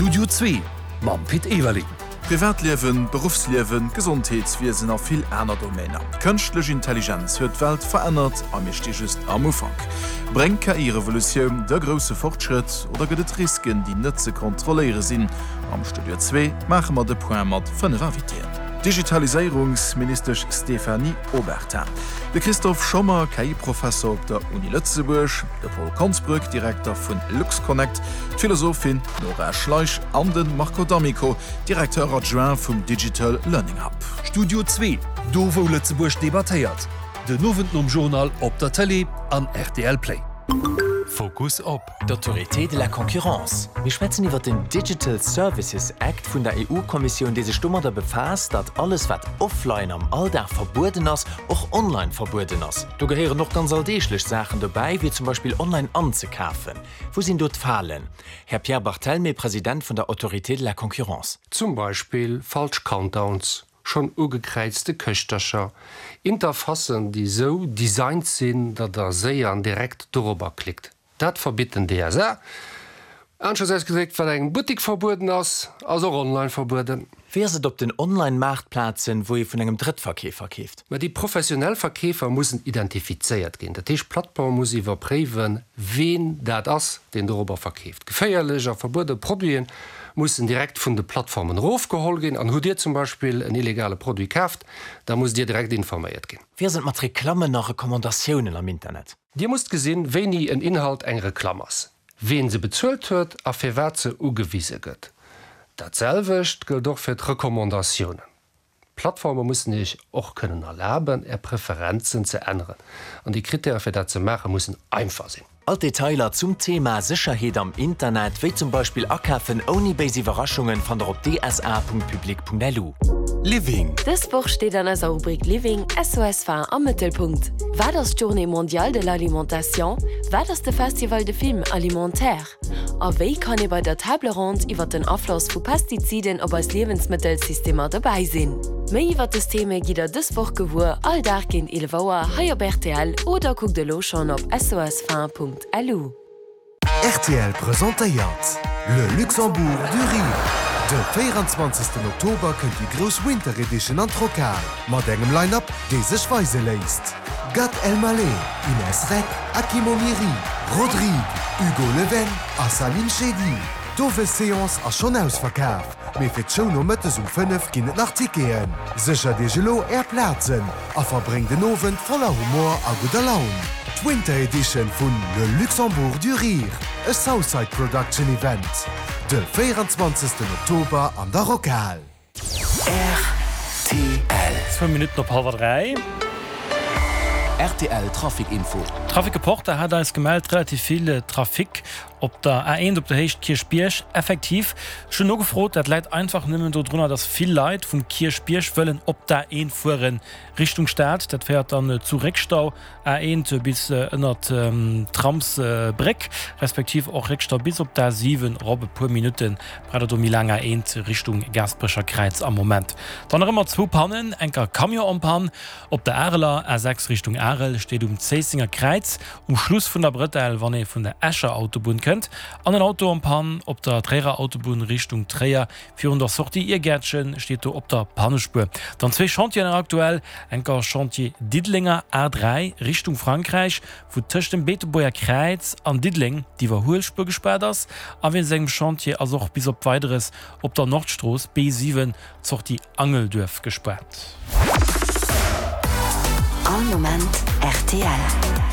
Studio Zwee mam Pit Everling. Privatliewen, Beruffsliewen, Gesondheetswiesen a vill aner Domainer. D'Kënschtlech Intelligenz huet d'Welt verännert a mir sti just am Ufank. Bréngt d'KI-Revolutioun de grousse Fortschrëtt oder gëtt et Risken, déi net ze kontrolléiere sinn? Am Studio Zwee maache mer de Point mat 5 Invitéen. D'Digitaliséierungsministesch Stéphanie Obertin, de Christophe Schommer, KI-Professer op der Uni Lëtzebuerg, de Paul Konsbrück, Direkter vun LuxConnect, d'Philosophin Nora Schleich an de Marco D'Amico, Directeur adjoint vum Digital Learning Hub. Studio Zwee, do wou Lëtzebuerg debattéiert, den Owend nom Journal op der Tëlee an rtl Play. Fokus op. D'Autorité de la concurrence. Mir schwätzen iwwer den Digital Services Act vun der EU-Kommissioun, dee sech domadder befaasst, datt alles, wat offline am Alldag verbueden ass, och online verbueden ass. Do gehéieren och ganz alldeeglech Saachen dobäi, wéi zum Beispill online anzekafen. Wou sinn do d'Falen? Här Pierre Barthelmé, President vun der Autorité de la concurrence. Zum Beispill falsch Countdowns, schonn ugekräizte Këschtercher, Interfacen, déi sou designt sinn, datt der séier an direkt dorobber klickt. Dat verbitt den DSA. Aneschters ausgedréckt, Wat engem Buttik verbueden ass, ass och online verbueden. Wéi ass et op den Online-Maartplazen, wou ee vun engem Drëttverkeefer keeft? Mä déi professionell Verkeefer mussen identifizéiert ginn. Dat heescht, d'Plattform muss iwwerpréiwen, ween dat ass, deen dorobber verkeeft. Geféierlech a verbuede Produite mussen direkt vun de Plattformen erofgeholl ginn. An hutt Dir zum Beispill en illegale Produit kaaft, da musst Dir direkt informéiert ginn. Wéi ass et mat Reklammen a Recommandatiounen am Internet? Dir musst gesinn, wéini en Inhalt eng Reklamm ass, ween se bezuelt huet a firwat se ugewise gëtt. Dat selwecht gëllt och fir d'Recommandatiounen. D'Plattforme mussen Iech och kënnen erlaben, Är Preferenzen ze änneren, an déi Krittäre fir dat ze maache mussen einfach sinn. All d'Detailer zum Thema Sécherheet am Internet, wéi zum Beispill Akafen ouni béis Iwwerraschungen, fannt der op dsa.public.lu. Living. Dës Woch steet an eiser Rubrik Living SOS Faim am Mëttelpunkt. Wat ass d'Journée mondiale de l'alimentation? Wat ass de Festival de Films alimentaires? A wéi kann ee bei der Table ronde iwwer den Afloss vu Pestiziden op eis Liewensmëttelsystemer dobäi sinn? Méi iwwer dës Theme gitt der dës Woch gewuer, all Dag géint 11 Auer hei op rtl oder kuckt elo schonn op sosfaim.lu. Rtl presentéiert Le Luxembourg du Rire. De 24. Oktober kënnt déi grouss Winter Edition an d'Rockhal mat engem Line-Up, dee sech weise léisst. Gad Elmaleh, Ines Reck, Akim Omiri, Rodrigue, Hugo Leven a Salim Chedi. D'Owesseance ass schonn ausverkaf, mee fir d'Show nomëttes um 5 ginn et nach Ticketen. Séchert Iech elo Är Plazen a verbréngt en Owend voller Humor a gudder Laun. D'Winter Edition vun Le Luxembourg du Rire, e Southside Production Event, de 24. Oktober an der Rockhal. Rtl. Zwou Minutten op hallwer 3. Rtl Trafic Info. Trafic Reporter hat eis gemellt, relativ vill Trafic op der A1 op der Héicht Kierchbierg. Effektiv, ech hunn nogefrot, dat läit einfach nëmmen dodrunner, datt vill Leit vum Kierchbierg wëllen op d'A1 fueren Richtung Stad. Dat féiert dann zu Réckstau. A1 bis ënnert d'Tramsbréck, respektiv och Réckstau bis op d'A7 erop. E puer Minutte braucht et do méi laang A1 Richtung Gaasperecher Kräiz am Moment. Dann nach ëmmer zwou Pannen, enker Camion en panne op der Areler A6 Richtung Arel, steet um Zéissenger Kräiz um Schluss vun der Brëtell, wann ee vun der Escher Autobunn kënnt, an en Auto en panne op der Tréierer Autobunn Richtung Tréier Virun der Sortie Iergäertchen steet do op der Pannespuer. Dann zwee Chantieren nach aktuell, enker Chantier Diddelenger A3 Richtung Frankräich, wou tëscht dem Beetebuerger Kräiz an Diddeleng d'Iwwerhuelspuer gespaart ass. A wéinst engem Chantier ass och bis op Weideres op der Nordstrooss B7 d'Sortie Angelduerf gespaart. All Moment rtl.